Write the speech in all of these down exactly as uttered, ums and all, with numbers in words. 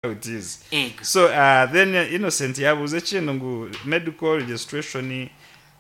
It is. Ego. So uh, then uh, Innocent yabuuza ekintu ngu medical registration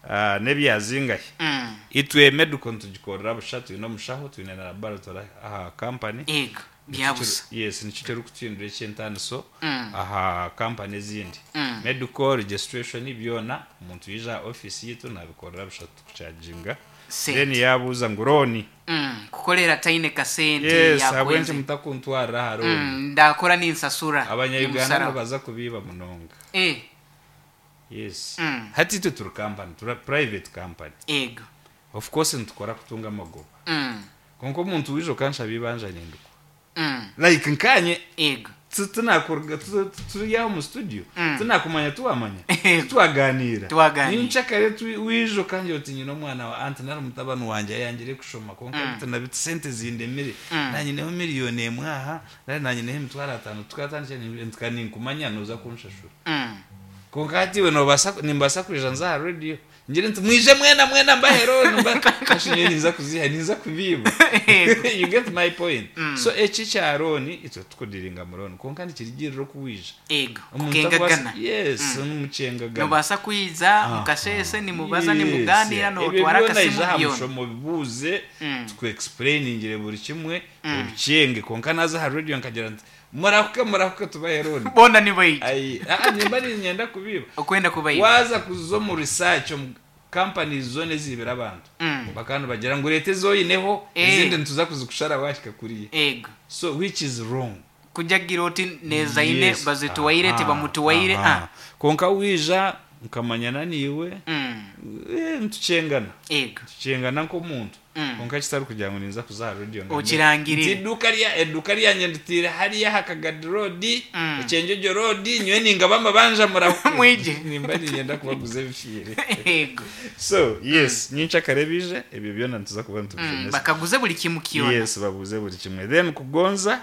uh, n'ebyazingahi. Mm. Itwe medical nitugikorera busha, twine omushaho, twine na laboratory aha company. Ego. Byabusa. Yes, nikyo kirikutuhindura eky'entaniso Mm. aha company ezindi. Mm. Medical registration byona omuntu yaija aha office yitu nabikorera busha, tukucharginga. Sente. Then yabuuza ngu loan. Mm. Kukorera taine kasente. Yes, ahabw'enki yakwenze. mutakuntwarira aha loan? Mm. Ndakora ninsasura. Abanya-Uganda Nimusara. nibaza kubiiba munonga. Eh. Yes. Mm. Hati itwe turi company, turi private company. Ego. Of course nitukora kutunga amagoba. Mm. Konka omuntu wija okanshaba ibanja nindikwa. Mm. Like nkanye Ego. tu- tunakuruga tu- tu- turi aho mu studio, Mm. tunakumanya, tuwamanya, Ego. twaganira. Twaganira. Ninshakare wija okangira oti nyine omwana wa anti nari mutabani wanje ayangire kushoma, konka Mm. bitu na bitu sente zindemire, Mm. nanyineho miliyoni emwe aha nari nanyineho emitwaro ataano, tukatandikira ntuka ninkumanya noza kunshashura. Mm. Konka hati iwe nobaasa, nimbaasa kwija nza aha radio ngire nti mwije mwena mwena mbahero kashinye, ninza kuziha, ninza kubiiba. Ego. You get my point? Mm. So eki kya loan, itwe tukudiringa mu loan, konka nikirigirira okuwija. Ego. Omuntu Kukengagana. akubaasa- yes, numukyengagana. Nobaasa kwiza mukasese nimubaza, nimuganira. Ebyo Notwara byona akasimu ija aha byona. mushomo bibuuze, Mm. tukuexplainingire buri kimwe obikyenge. Konka naza aha radio nkagira nti murahuke, murahuke, tubahe loan, Bona nibaija. Ai, ah, nimba ninyenda kubiba. Okwenda kubaija. Waza kuza omu research, omu companies zona ezibira abantu, Mm. bakandi bagira ngu leta ezoyineho, Eh. ezindi nituza kuzikushara wahika kuriya. Ego. So which is wrong. Kujagira oti nezaine Yes. bazituwaire, Aha, tibamutuwaire. aha. Ah. Konka wija nkamanyana niiwe, Mm. eh, nitukyengana, Ego. tukyengana nk'omuntu. Mm. Konka kitari kugira ngu ninza kuza aha radio ngambe, Okirangirire. nti iduka rya eduka ryanje nditiire hariya aha Kagadi Road, Mm. Ekyenjojo Road, nyowe ningaba amabanja, murahuke. Mwije. Nimba ninyenda kubaguza ebifiire. Ego. So yes, nyincakare bije ebyo byona nituza kuba Mm. nitubishomesa. Bakaguze buli kimu kyona. Yes, babuze buri kimwe. Then Kugonza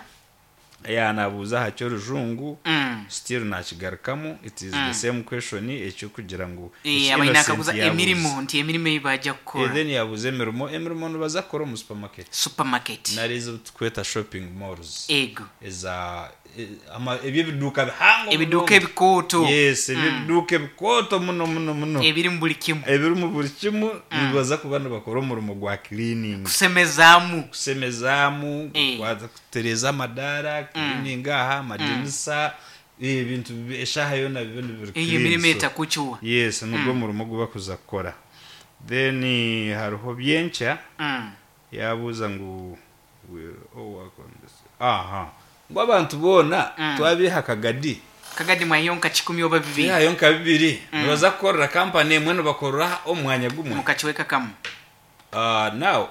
yanabuuza aha ky'orujungu. Mm. Still nakigarukamu, it is the same question ekyokugira ngu Eh, eki abaine Innocent akaguza yabuuza. emirimo, nti emirimo ei bajja Eh, kukora. Then yabuuza emirimo. Emirimo nibaza kukora omu supermarket Supermarket. nari ezi tukweta shopping malls, Ego. eza eh, ama- ebyo ebiduuka bihango Ebiduuka munonga. ebikooto. Yes, ebyo ebiduuka ebikooto muno muno muno, ebirimu buli kimu. Ebirimu buri kimwe, nibaza kuba nibakora omurimo gwa cleaning. Kusemezaamu. Kusemezaamu, Eh. kukwata, kutereeza amadaara, cleaning aha amadirisa, ebintu bi- eshaaha yoona bibe nibiri Eyo clean. emirimo So, etakukiwa. yes, nigwo murimo gubakuza kukora. Then eh, hariho Byenkya. Mm. Yabuuza ngu will all work on this, aha, ngu abantu boona Mm. twabiha Kagadi. Kagadi mwayo nka kikumi oba bibiri. Bihayo nka bibiri, nibaza kukorera kampani emwe, nibakorera omwanya gumwe? Mukakiweka kamu. Uh, now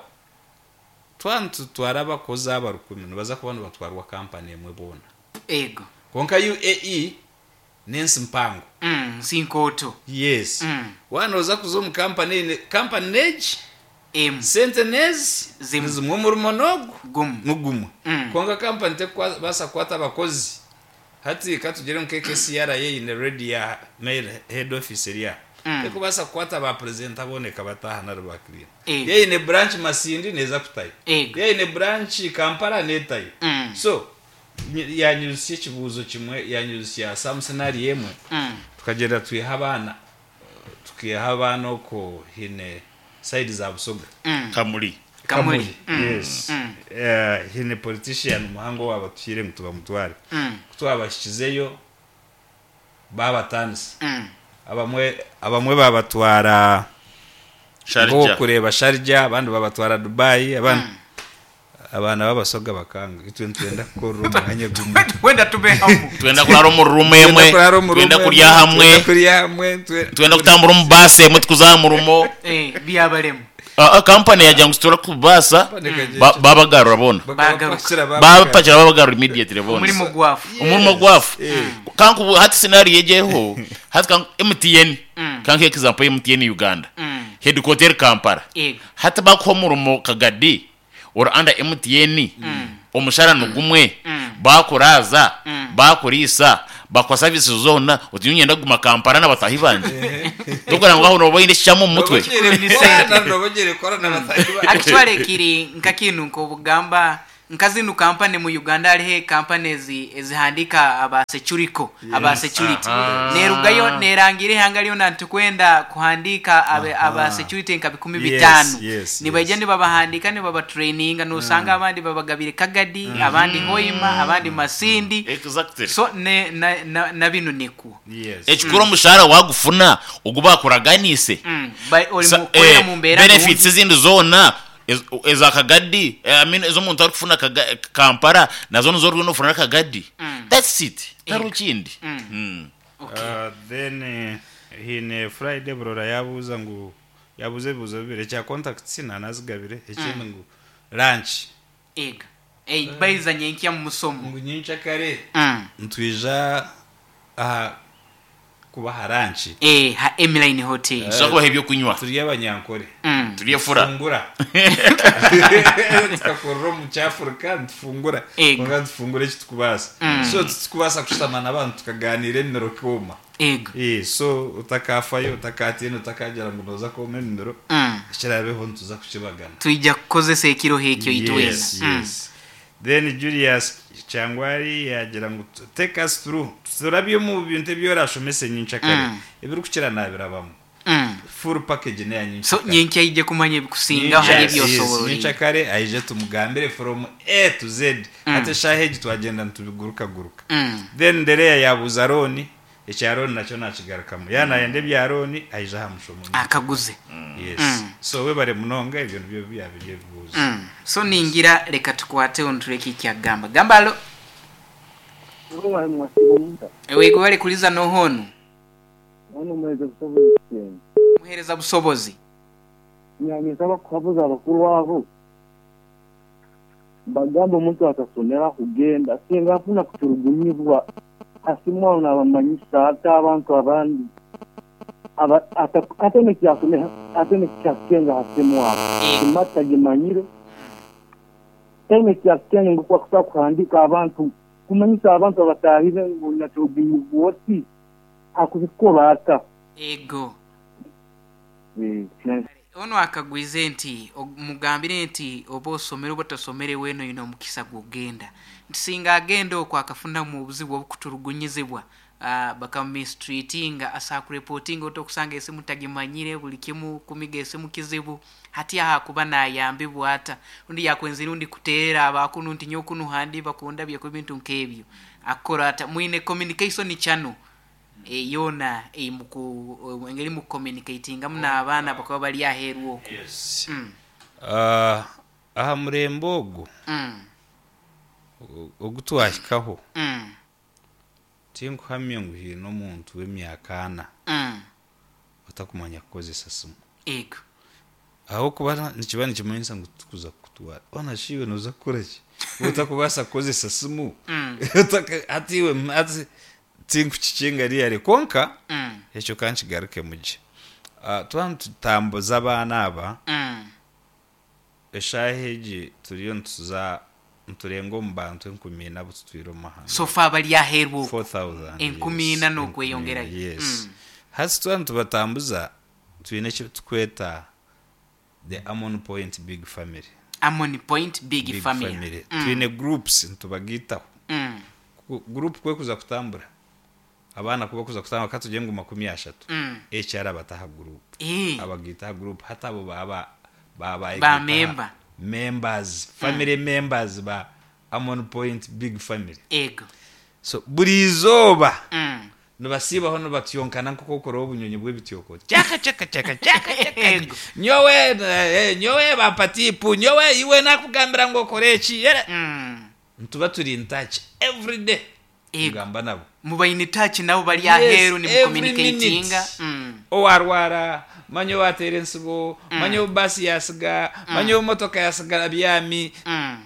twantutwara abakozi aba rukumi, nibaza kuba nibatwarwa kampani emwe boona? Ego. Konka U A E n'ensi mpango. Mm. Nsinkooto. Yes. Mm. Wanoza kuza omu kampani eine kampani negi, Emu. sente nezi Zimwe. nizimwe, omurimo nogu Gumu. nugumwe. Mm. Konka kampani tekubasa kukwata abakozi, hati katugire nka K C R A eine ready ya main head office erya, Mm. tekubasa kukwata ba president aboneka bataha nari ba clean. Ego. Yeine branch Masindi neza kutayo, Ego. yeine branch Kampala netayo. Mm. So ny- yanyuzisya ekibuuzo kimwe, yanyuzisya some scenario emwe. Mm. Tukagenda twiha abaana, tukiha abaana oko hine side za Busoga. Mm. Kamuli. Kamuli. Mm. Yes. Mm. Eh, hine politician muhango wabatuhire ngu tubamutware. Mm. Twabashikizeyo babatanisa. Mm. abamwe abamwe babatwara ngo Sharjah. kureba Sharjah, abandi babatwara Dubai, abandi abaana b'Abasoga bakanga, itwe nitwenda kukorera omwanya gumwe. Wenda tube hamu. Twenda kurara omu rumu emwe. Twenda kurara omu Twenda room kurya emwe, hamwe. twenda kurya hamwe, twe- Twenda kutambura omu baasi emwe, tukuza murumo. Eh, byabalemu. Kampani yagira ngu situra kubaasa. Kampani ba- babagarura bona. Bakabapakira. Babapakira, babagarura immediately bona. Omurimo gwafu. Omurimo gwafu. Eh. Kanku hati scenario ejeho hati kanku M T N, Mm. kanku example M T N Uganda, Mm. headquarter Kampala. Ego. Hati bakuha omurimo Kagadi ori under M T N, omushara nigumwe, Mm. bakuraza, Mm. bakuriisa, bakuha services zona, oti nyenda kuguma Kampala n'abatahi banje, tokora ngu aho noba oine ekikyamu omu mutwe. Ni sente. Nobogere korana batahi. Actually kiri nka kintu nk'obugamba. Nka zinu kampani mu Uganda hariho kampani ezi ezihandika aba securico, aba security. Aha. Nerugayo nerangira ihanga lyona ntikwenda kuhandika abe, aba security nka bikumi Yes, bitano. yes, Nibaija yes. nibabahandika nibabatraininga, nosanga abandi babagabire Kagadi, abandi Hoima, abandi Masindi. Exactly. So ne, na, na, na binu nikwo. Yes. Ekikuru omushahara wagufuna ogu bakuraganise. Mm. Ba- ori Sa- mukorera eh, mu mbeera benefits nungi. ezindi zoona ez- ezakagadi, eh, I mean, ez'omuntu arikufuna Kaga- Kampala nazo nizo oriyo nofuna Kagadi. That's it, tariho kindi. Mm. Okay. Uh, then eh, hine Friday burora yabuuza ngu yabuuza ebibuuzo bibiri, ekya contacts nanazigabire, ekindi ngu lunch. Ega. Ei, baizanye nkya mu musomo. Ngu nyincakare Mm. ntwija aha kubaha lunch. Eh, ha Emiline Hotel. Tuza kubaha ebyokunywa. Turi abanyankore. Mm. Turi efura. Tufungura, tukakorera omu kyafurika nitufungura. Ego. Kwonka nitufungura eki tukubaasa, so titukubaasa kushutama n'abantu tukaganiira emimiro kooma. Ego. Eh, so utakafayo, utakatiina, utakagira ngu noza kwoma emimiro. Mm. Ekirabeho nituza kukibagana. Twija kukozesa ekiro ekyo itwena. Yes, Mm. yes. Then Julius Kyangwari yagira ngu take us through, turabye omu bintu ebyorashomese nyincakare. Mm. Ebirikukira nabirabamu. Mm. Full package neya So nyincakare. nyenkya ije kumanya ebikusinga hari ebyosoborire. Nyincakare aije tumugambire from A to Z. Ate eshaaha egi twagenda nitubigurukaguruka. Mm. Then Ndereya yabuuza loan, ekya loan nakyo nakigarukamu, yanayenda ebya loan aije aha mushomo. Akaguze. Yes, so webare munonga, ebyo nibyo byabiri ebibuuzo. Mm. So ningira reka tukwate ontureke ekyagamba. Gamba alo. Wego bari kuliza nohono. Muhereza busobozi. Nyanyisaba kuhabuza abakuru abo bagamba omuntu atasomera kugenda singa afuna kuturugunyibwa asimwa nabamanyisa ate abantu abandi aba- ata- ate nekyasomera ate nekyakukenga hasimwa kimata gimanyire ate nekyakukenga ngukwakusa kuhandika abantu kumanyisa abantu abatahire ngu naturugunyibwa oti akubikola ata. Ego. Eh, na- Ono akagwize nti og- mugambire nti oba osomere oba tosomere weno yino omukisa gwogenda nti singa agenda okwo akafunamu obuzibu obukuturugunyizibwa, uh, bakamistreatinga asa kureportinga otokusanga esimu tagimanyire buli kimu kumiga esimu kizibu hati aha kuba nayambibwa ata undi yakwenzire undi kuteera abakunu nti nyokunu handi bakunda byeko bintu nk'ebyo akora ata mwine communication channel e, yona eimuku engeri mu communicatingamu n'abaana bakaba bari aheeru okwo. Yes. Mm. Ah, aha murembe ogu Mm. ogu twahikaho, Mm. tinkuhamya ngu hiine omuntu w'emyaka ana Mm. otakumanya kukozesa simu. Ego. Aho kuba nikiba nikimanyisa ngu tukuza kukutwara ona shiwe noza kukora ki otakubaasa kukozesa simu. Mm. Otaka- hati iwe hati tinkukikinga riyare konka. Mm. Ekyo kankigaruke mugye. Ah, twaba nitutambuza abaana aba, Mm. eshaaha egi turiyo nituza niturenga omu bantu enkumi ina abu tutwire omu mahanga. So far bari aheeru okwo. four thousand. Enkumi Yes. ina n'okweyongerayo. Enkumi ina, yes. Mm. Hati twaba nitubatambuza twine eki tukweta the Amon Point Big Family. Amon Point Big, Big Family. Family. Mm. Twine groups nitubagiitaho. Mm. Ku- group kwekuza kutambura abaana kuba kuza kutambura katugye ngu makumi ashatu, Mm. H R abataha group, Eh. abagitaha group hati abo baba babaye Ba gitaha member. members, family members ba Amon Point Big Family. Ego. So buri izooba Mm. nibasiibaho nibatyonkana nk'okokora obunyonyi bw'ebityoko cyaka cyaka cyaka cyaka cyaka. Ego. Nyowe eh, nyowe bampatipu nyowe iwe nakugambira ngo okore eki. Era Mm. nituba turi in touch every day. Ego. Tugamba nabo. Mubaine touch nabo bari aheeru Yes, ni every mucommunicatinga. minute. Mm. Owarwara manye owateera ensibo, manye obaasi yasiga, manye omotoka yasigara byami, Mm.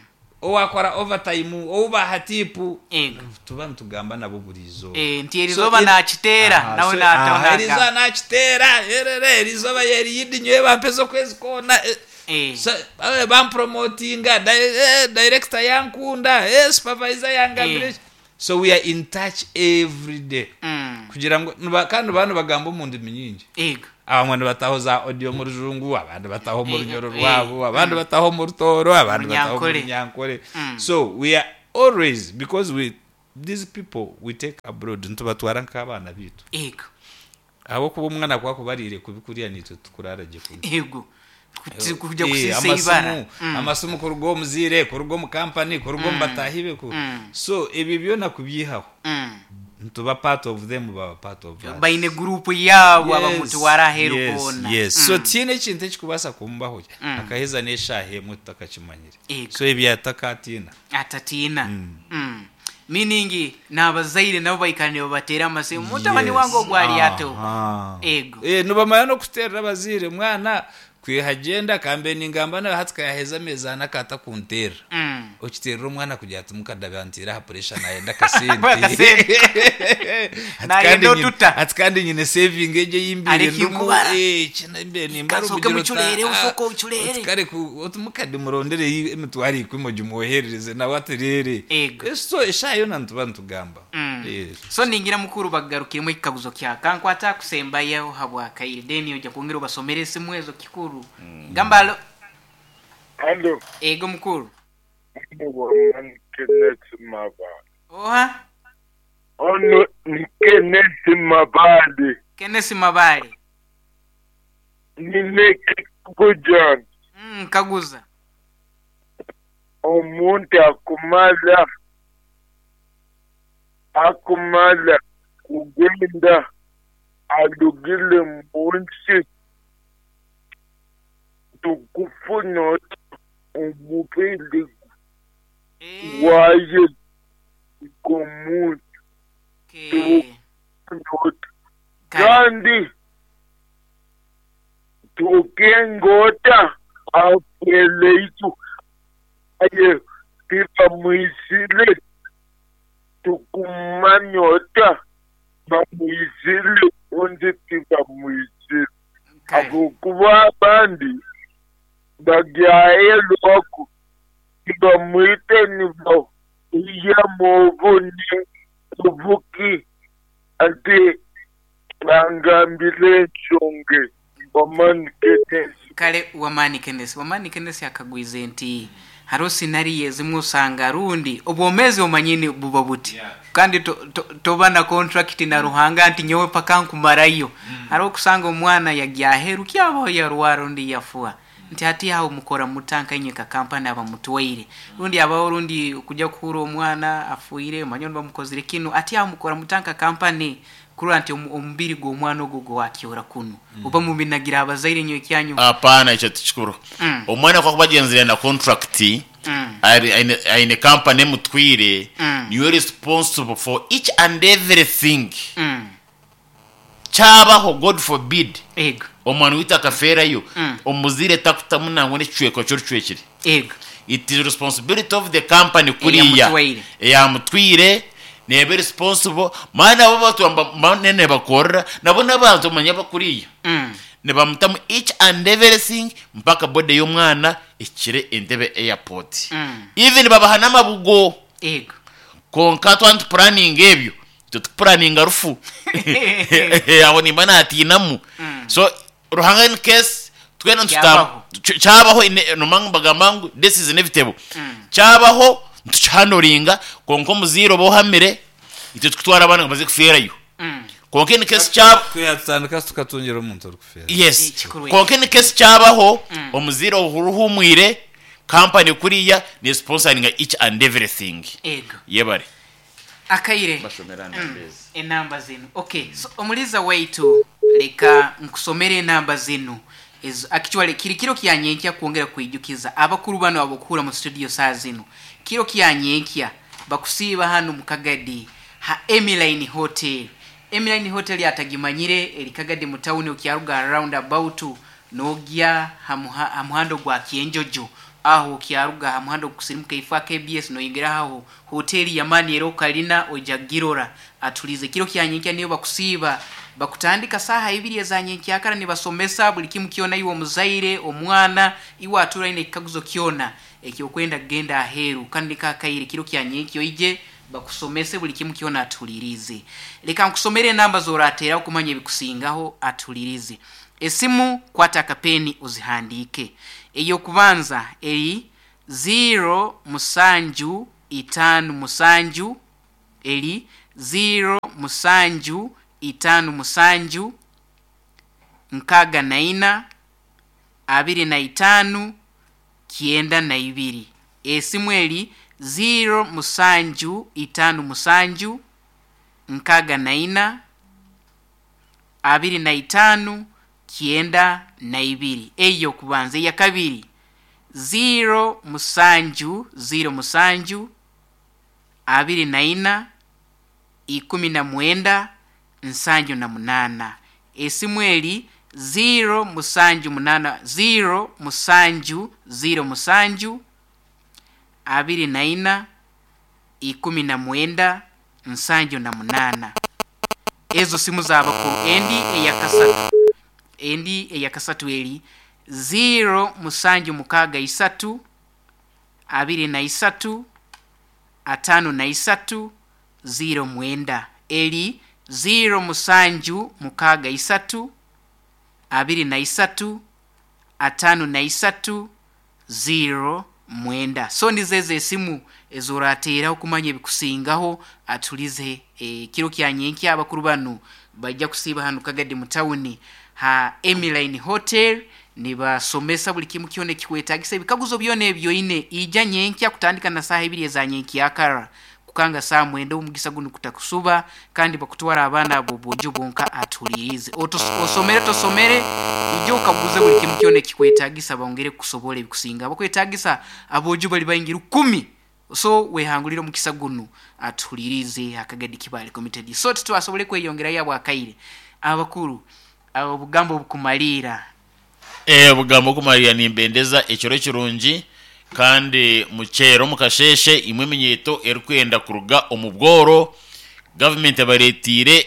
owakora overtime, owubaha tipu. Ego. Tuba nitugamba nabo buri izooba. Eh, nti erizoba nakiteera nawe nataho. Erizoba nakiteera erere erizoba yeriyidi nyowe bampeza okwezi koona, eh, Eh. so, eh, bampromotinga di- eh, director yankunda, eh, supervisor yangambire. Eh. So we are in touch every day Mm. kugira ngo niba- kandi bano bagamba omu ndimi nyingi. Ego. Abamwe nibataho za audio mu rujungu, abandi bataho mu Eh, runyoro eh, rwabo, abandi bataho mu rutoro, abandi bataho mu Runyankore. runyankore. Mm. So we are always, because we these people we take abroad, nitubatwara nk'abaana bitu. Ego. Ahabwokuba omwana kwakubariire kubi kuriya nitwe tukurara gye kubi. Ego. Kuti- kujya Eh, kusisa amasimu ibara. Mm. amasimu kuruga omuziire, kuruga omu kampani, kuruga omu bataahi be ku- Mm. So ebyo byona kubyihaho, Mm. nituba part of them, baba part of us. Baine gurupu yaabo Yes, abamutwara aheeru yes, boona. yes. Mm. So tiine ekintu ekikubaasa kumubaho, Mm. akaheza n'eshaaha emwe tutakakimanyire. Ego. So ebyo atakatiina. Atatiina. Mm. Meaning n'abazaire nabo baikara nibabateera amasimu, mutabani Yes. wange ogwo ali ato. Aha. Ego. Eh, nibamanya n'okuteerera abazaire mwana kwihagenda kambe ningamba nawe hati kayaheza amezi ana katakunteerera. Mm. Okiteerera omwana kugira ati mukadde anteera aha pressure, nayenda akasente. Akasente. Ati Nayenda kandi nyine- otuta. ati kandi nyine saving egyo eyimbire Areke ndumu, nkubara. eh, kina mbere nimbara. Kasooke obugira ota- mucureere, ah, usooke ocureere. oti kare ku- oti mukadde murondere emitwaro ikumi ogimwoherereze nawe atereere. Ego. Eh, so eshaaha yona nituba nitugamba. Mm. Yes. So ningira mukuru bagarukiremu ekikaguzo kya kankwata kusembayo habwakaire, then ojja kwongera obasomere esimu ezo kikuru. Gamba alo. Alo, Ego mukuru. Ono Kenneth Mabale. Oha? Ono ni Kenneth Mabale. Kenneth Mabale. Nine Kujan. Mm, kaguza. Omuntu akumala akumala kugenda alugile munsi tukufuna omubiri Eh, waye komuntu. okay. Kale. Kandi tukengota apeleitu aye tibamwisile tukumanyota bamwisile undi tibamwisile. Kale. Akokuba abandi bagyaye lwaku tibamwite nibo iya mubuni obuki ati bangambire ensonge wamani Kenneth. Kale wamani Kenneth, wamani Kenneth akagwize nti hariho sinariyo ezimwe osanga rundi obwomezi omanyini buba buti. Yeah. Kandi to- to- toba na contract na Ruhanga nti nyowe paka nkumarayo. Hariho okusanga omwana yagya aheeru kyabaho yarwara rundi yafuha, nti hati aho mukora mutanka inywe ka kampani abamutwaire rundi abaho rundi kujya kuhura omwana afuire omanye bamukozire kinu, ati aho mukora mutanka kampani kurora nti omu- omubiri gw'omwana ogwo gwakyora kunu oba mubinagira abazaire inywe kyanyu. Hapana, ekyo tikikuru. Mm. Omwana kwakuba agenzire na contract, Mm. ari- aine aine company emutwire, Mm. niwe responsible for each and everything Mm. kyabaho, God forbid, Ego. omwana witu akafeerayo, Mm. omuzire takutamu nangwa n'ekicweka kyorucwekire. Ego. It is responsibility of the company kuriya Eyamutwaire. Eyamutwire nebe responsible maana abo batwamba manene bakorera nabo n'abantu omanya bakuriya, Mm. nibamutamu each and everything mpaka body y'omwana ekire Entebbe airport. Mm. Even babaha n'amabugo. Ego. Konka twantupuraninga ebyo tetupuraninga rufu, aho nimba natiinamu. So Ruhanga in case twena ntuta- Kyabaho. ky- kyabaho ine- nomanga mbagamba ngu this is inevitable, kyabaho ntukihandoringa, konka omuziire oba ohamire itwe tukutwara abaana nga baze kufeerayo. Mm. Konka in case kyaba Twiha tutandika tukatungira omuntu orikufeera. Yes. Ekikuru. Konka in case kyabaho, omuziire oruhumwire kampani kuriya ne sponsoringa each and everything. Ego. Yebare. Akaire. Bashomera. Mm. Enamba zinu, okay, so omuliza waitu, leka nkusomere enamba zinu. Ezo actually kiri kiro kyanyenkya kwongera kwijukiza abakuru bano abokuhura mu studio saa zinu, kiro kyanyenkya bakusiiba hano mu Kagadi ha Emiline Hotel. Emiline Hotel atagimanyire eri Kagadi mu town, okyaruga roundabout nogya ha ha muhando gwa Kyenjojo, aho okyaruga ha muhando kusirimuka ifa K B S noyingira aho hoteli yamani ero kalina oja girora atulize. Kiro kyanyenkya niyo bakusiiba, bakutandika saha ibiri ezanyenkyakara nibasomesa buli kimu kyona iwe omuzaire omwana iwe atura ine ekikaguzo kyona ekyokwenda kugenda aheeru. Kandi kakaire kiro kyanyenkyo ije bakusomese buli kimu kyona atulirize. Leka nkusomere enamba zorateera okumanya ebikusingaho atulirize. Esimu kwata akapeni ozihandiike. Ey'okubanza eri ziro musanju itaano musanju, eri ziro musanju itaano musanju nkaaga na ina abiri na itaano kyenda na ibiri. Esimu eri ziro musanju itaano musanju nkaaga na ina abiri na itaano kyenda na ibiri. Eyo kubanza. Eya kabiri ziro musanju ziro musanju abiri na ina ikumi na mwenda nsanju na munana. Esimu eri ziro musanju munana ziro musanju ziro musanju abiri na ina ikumi na mwenda nsanju na munana. Ezo simu z'abakuru. Endi eyakasatu, endi eyakasatu eri ziro musanju mukaaga isatu abiri na isatu atano na isatu ziro mwenda. Eri ziro musanju mukaaga isatu abiri na isatu atano na isatu ziro mwenda. So nizezo esimu ezorateeraho kumanya ebikusingaho. Atulize ekiro kya nyenkya abakuru banu bajja kusiiba hanu Kagadi mu tawuni ha Emiline Hotel, nibasomesa buli kimu kyona ekikwetagisa, ebikaguzo byona ebyoine. Ija nyenkya kutandika na saaha ibiri eza nyenkyakara kukanga saa mwenda, omugisa gunu kutakusuba, kandi bakutwara abaana abo bojo bonka. Atulirize, Otos- osomere tosomere, ija okaguze buli kimu kyona ekikwetagisa, bongere kukusobola ebikusinga. Bakwetagisa abojo bali baingi rukumi, so wehangulire omukisa gunu. Atulirize Akagadi Kibale Committed. So titwasobole kweyongerayo abwakaire abakuru abo obugambo obukumaliira. Eh, obugambo okumalira, nimbendeza ekiro kirungi kandi mukyero mukasheshe imwe eminyeto erikwenda kuruga omu bworo. Gavumenti abaretiire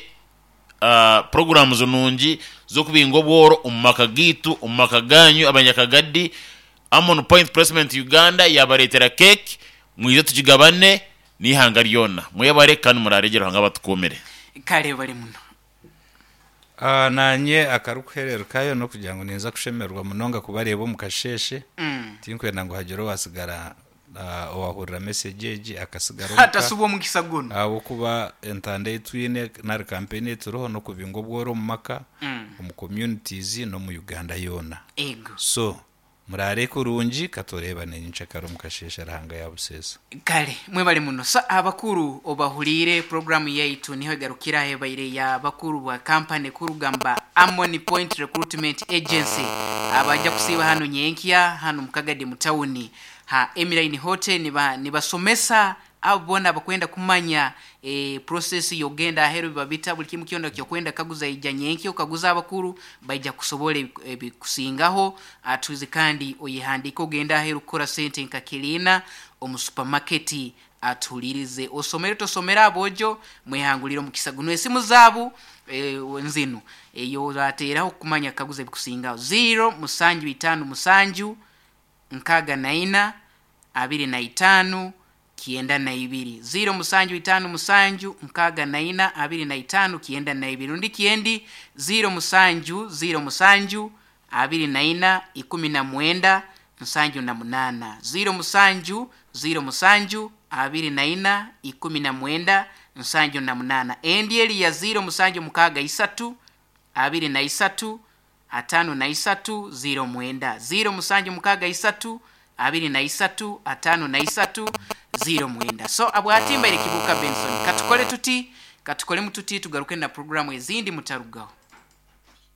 uh, programs nungi z'okubinga obworo omu maka gaitu, omu maka ganyu abanyakagadi. Amon Point Placement Uganda yabareetera cake, mwije tukigabane n'ihanga ryona. Mwebare kandi muraregera hanga batukumire. Kale bali muno. Ah, nanye akarikuhererekayo nokugira ngu ninza kushemererwa munonga kubareeba omu kasheshe. Mm. Tinkwenda ngu hagire owasigara ah, owahurira message egi akasigara omuka. Atasubwa omukisa guno. Ahabwokuba entanda ei twine nari campaign eturiho n'okubinga obworo omu maka, Mm. omu communities n'omu Uganda yoona. Ego. So murare kurungi, katureebane nyenkyakare omu kasheshe, Ruhanga yabuseesa. Kale mwebale muno. Sa abakuru obahulire, programu yaitu niho egarukira. Ebaire ya bakuru bwa kampani kurugamba Amoni Point Recruitment Agency, abajja kusiiba hano nyenkya hano mukagadi mu tawuni ha Emiline Hotel, niba nibasomesa abo bona abakwenda kumanya e, process yogenda aheru bibabita buli kimu kyona kyokwenda kaguza. Ija nyenkya okaguza abakuru, baija kusobola ebi- ebikusingaho. Atuzi kandi oyehandike ogenda aheru kukora sente nka kirina omu supermarket. Atulirize, osomere tosomere, abojo mwehangulire omukisa guno. Esimu zaabu e, nzinu eyo orateraho kumanya kaguza ebikusingaho: ziro musanju itaano musanju nkaaga na ina abiri na itaano kyenda na ibiri, ziro musanju itaano musanju nkaaga na ina abiri na itaano kyenda na ibiri. Rundi kyendi ziro musanju ziro musanju abiri na ina ikumi na mwenda nsanju na munana, ziro musanju ziro musanju abiri na ina ikumi na mwenda nsanju na munana. Endi eri ya ziro musanju mukaaga isatu abiri na isatu atano na isatu ziro mwenda, ziro musanju mukaaga isatu abiri na isatu atano na isatu ziro mwenda. So abwatimbaire Kibuka Benson, katukole tuti, katukole mututi, tugaruke na programu ezindi, mutarugaho.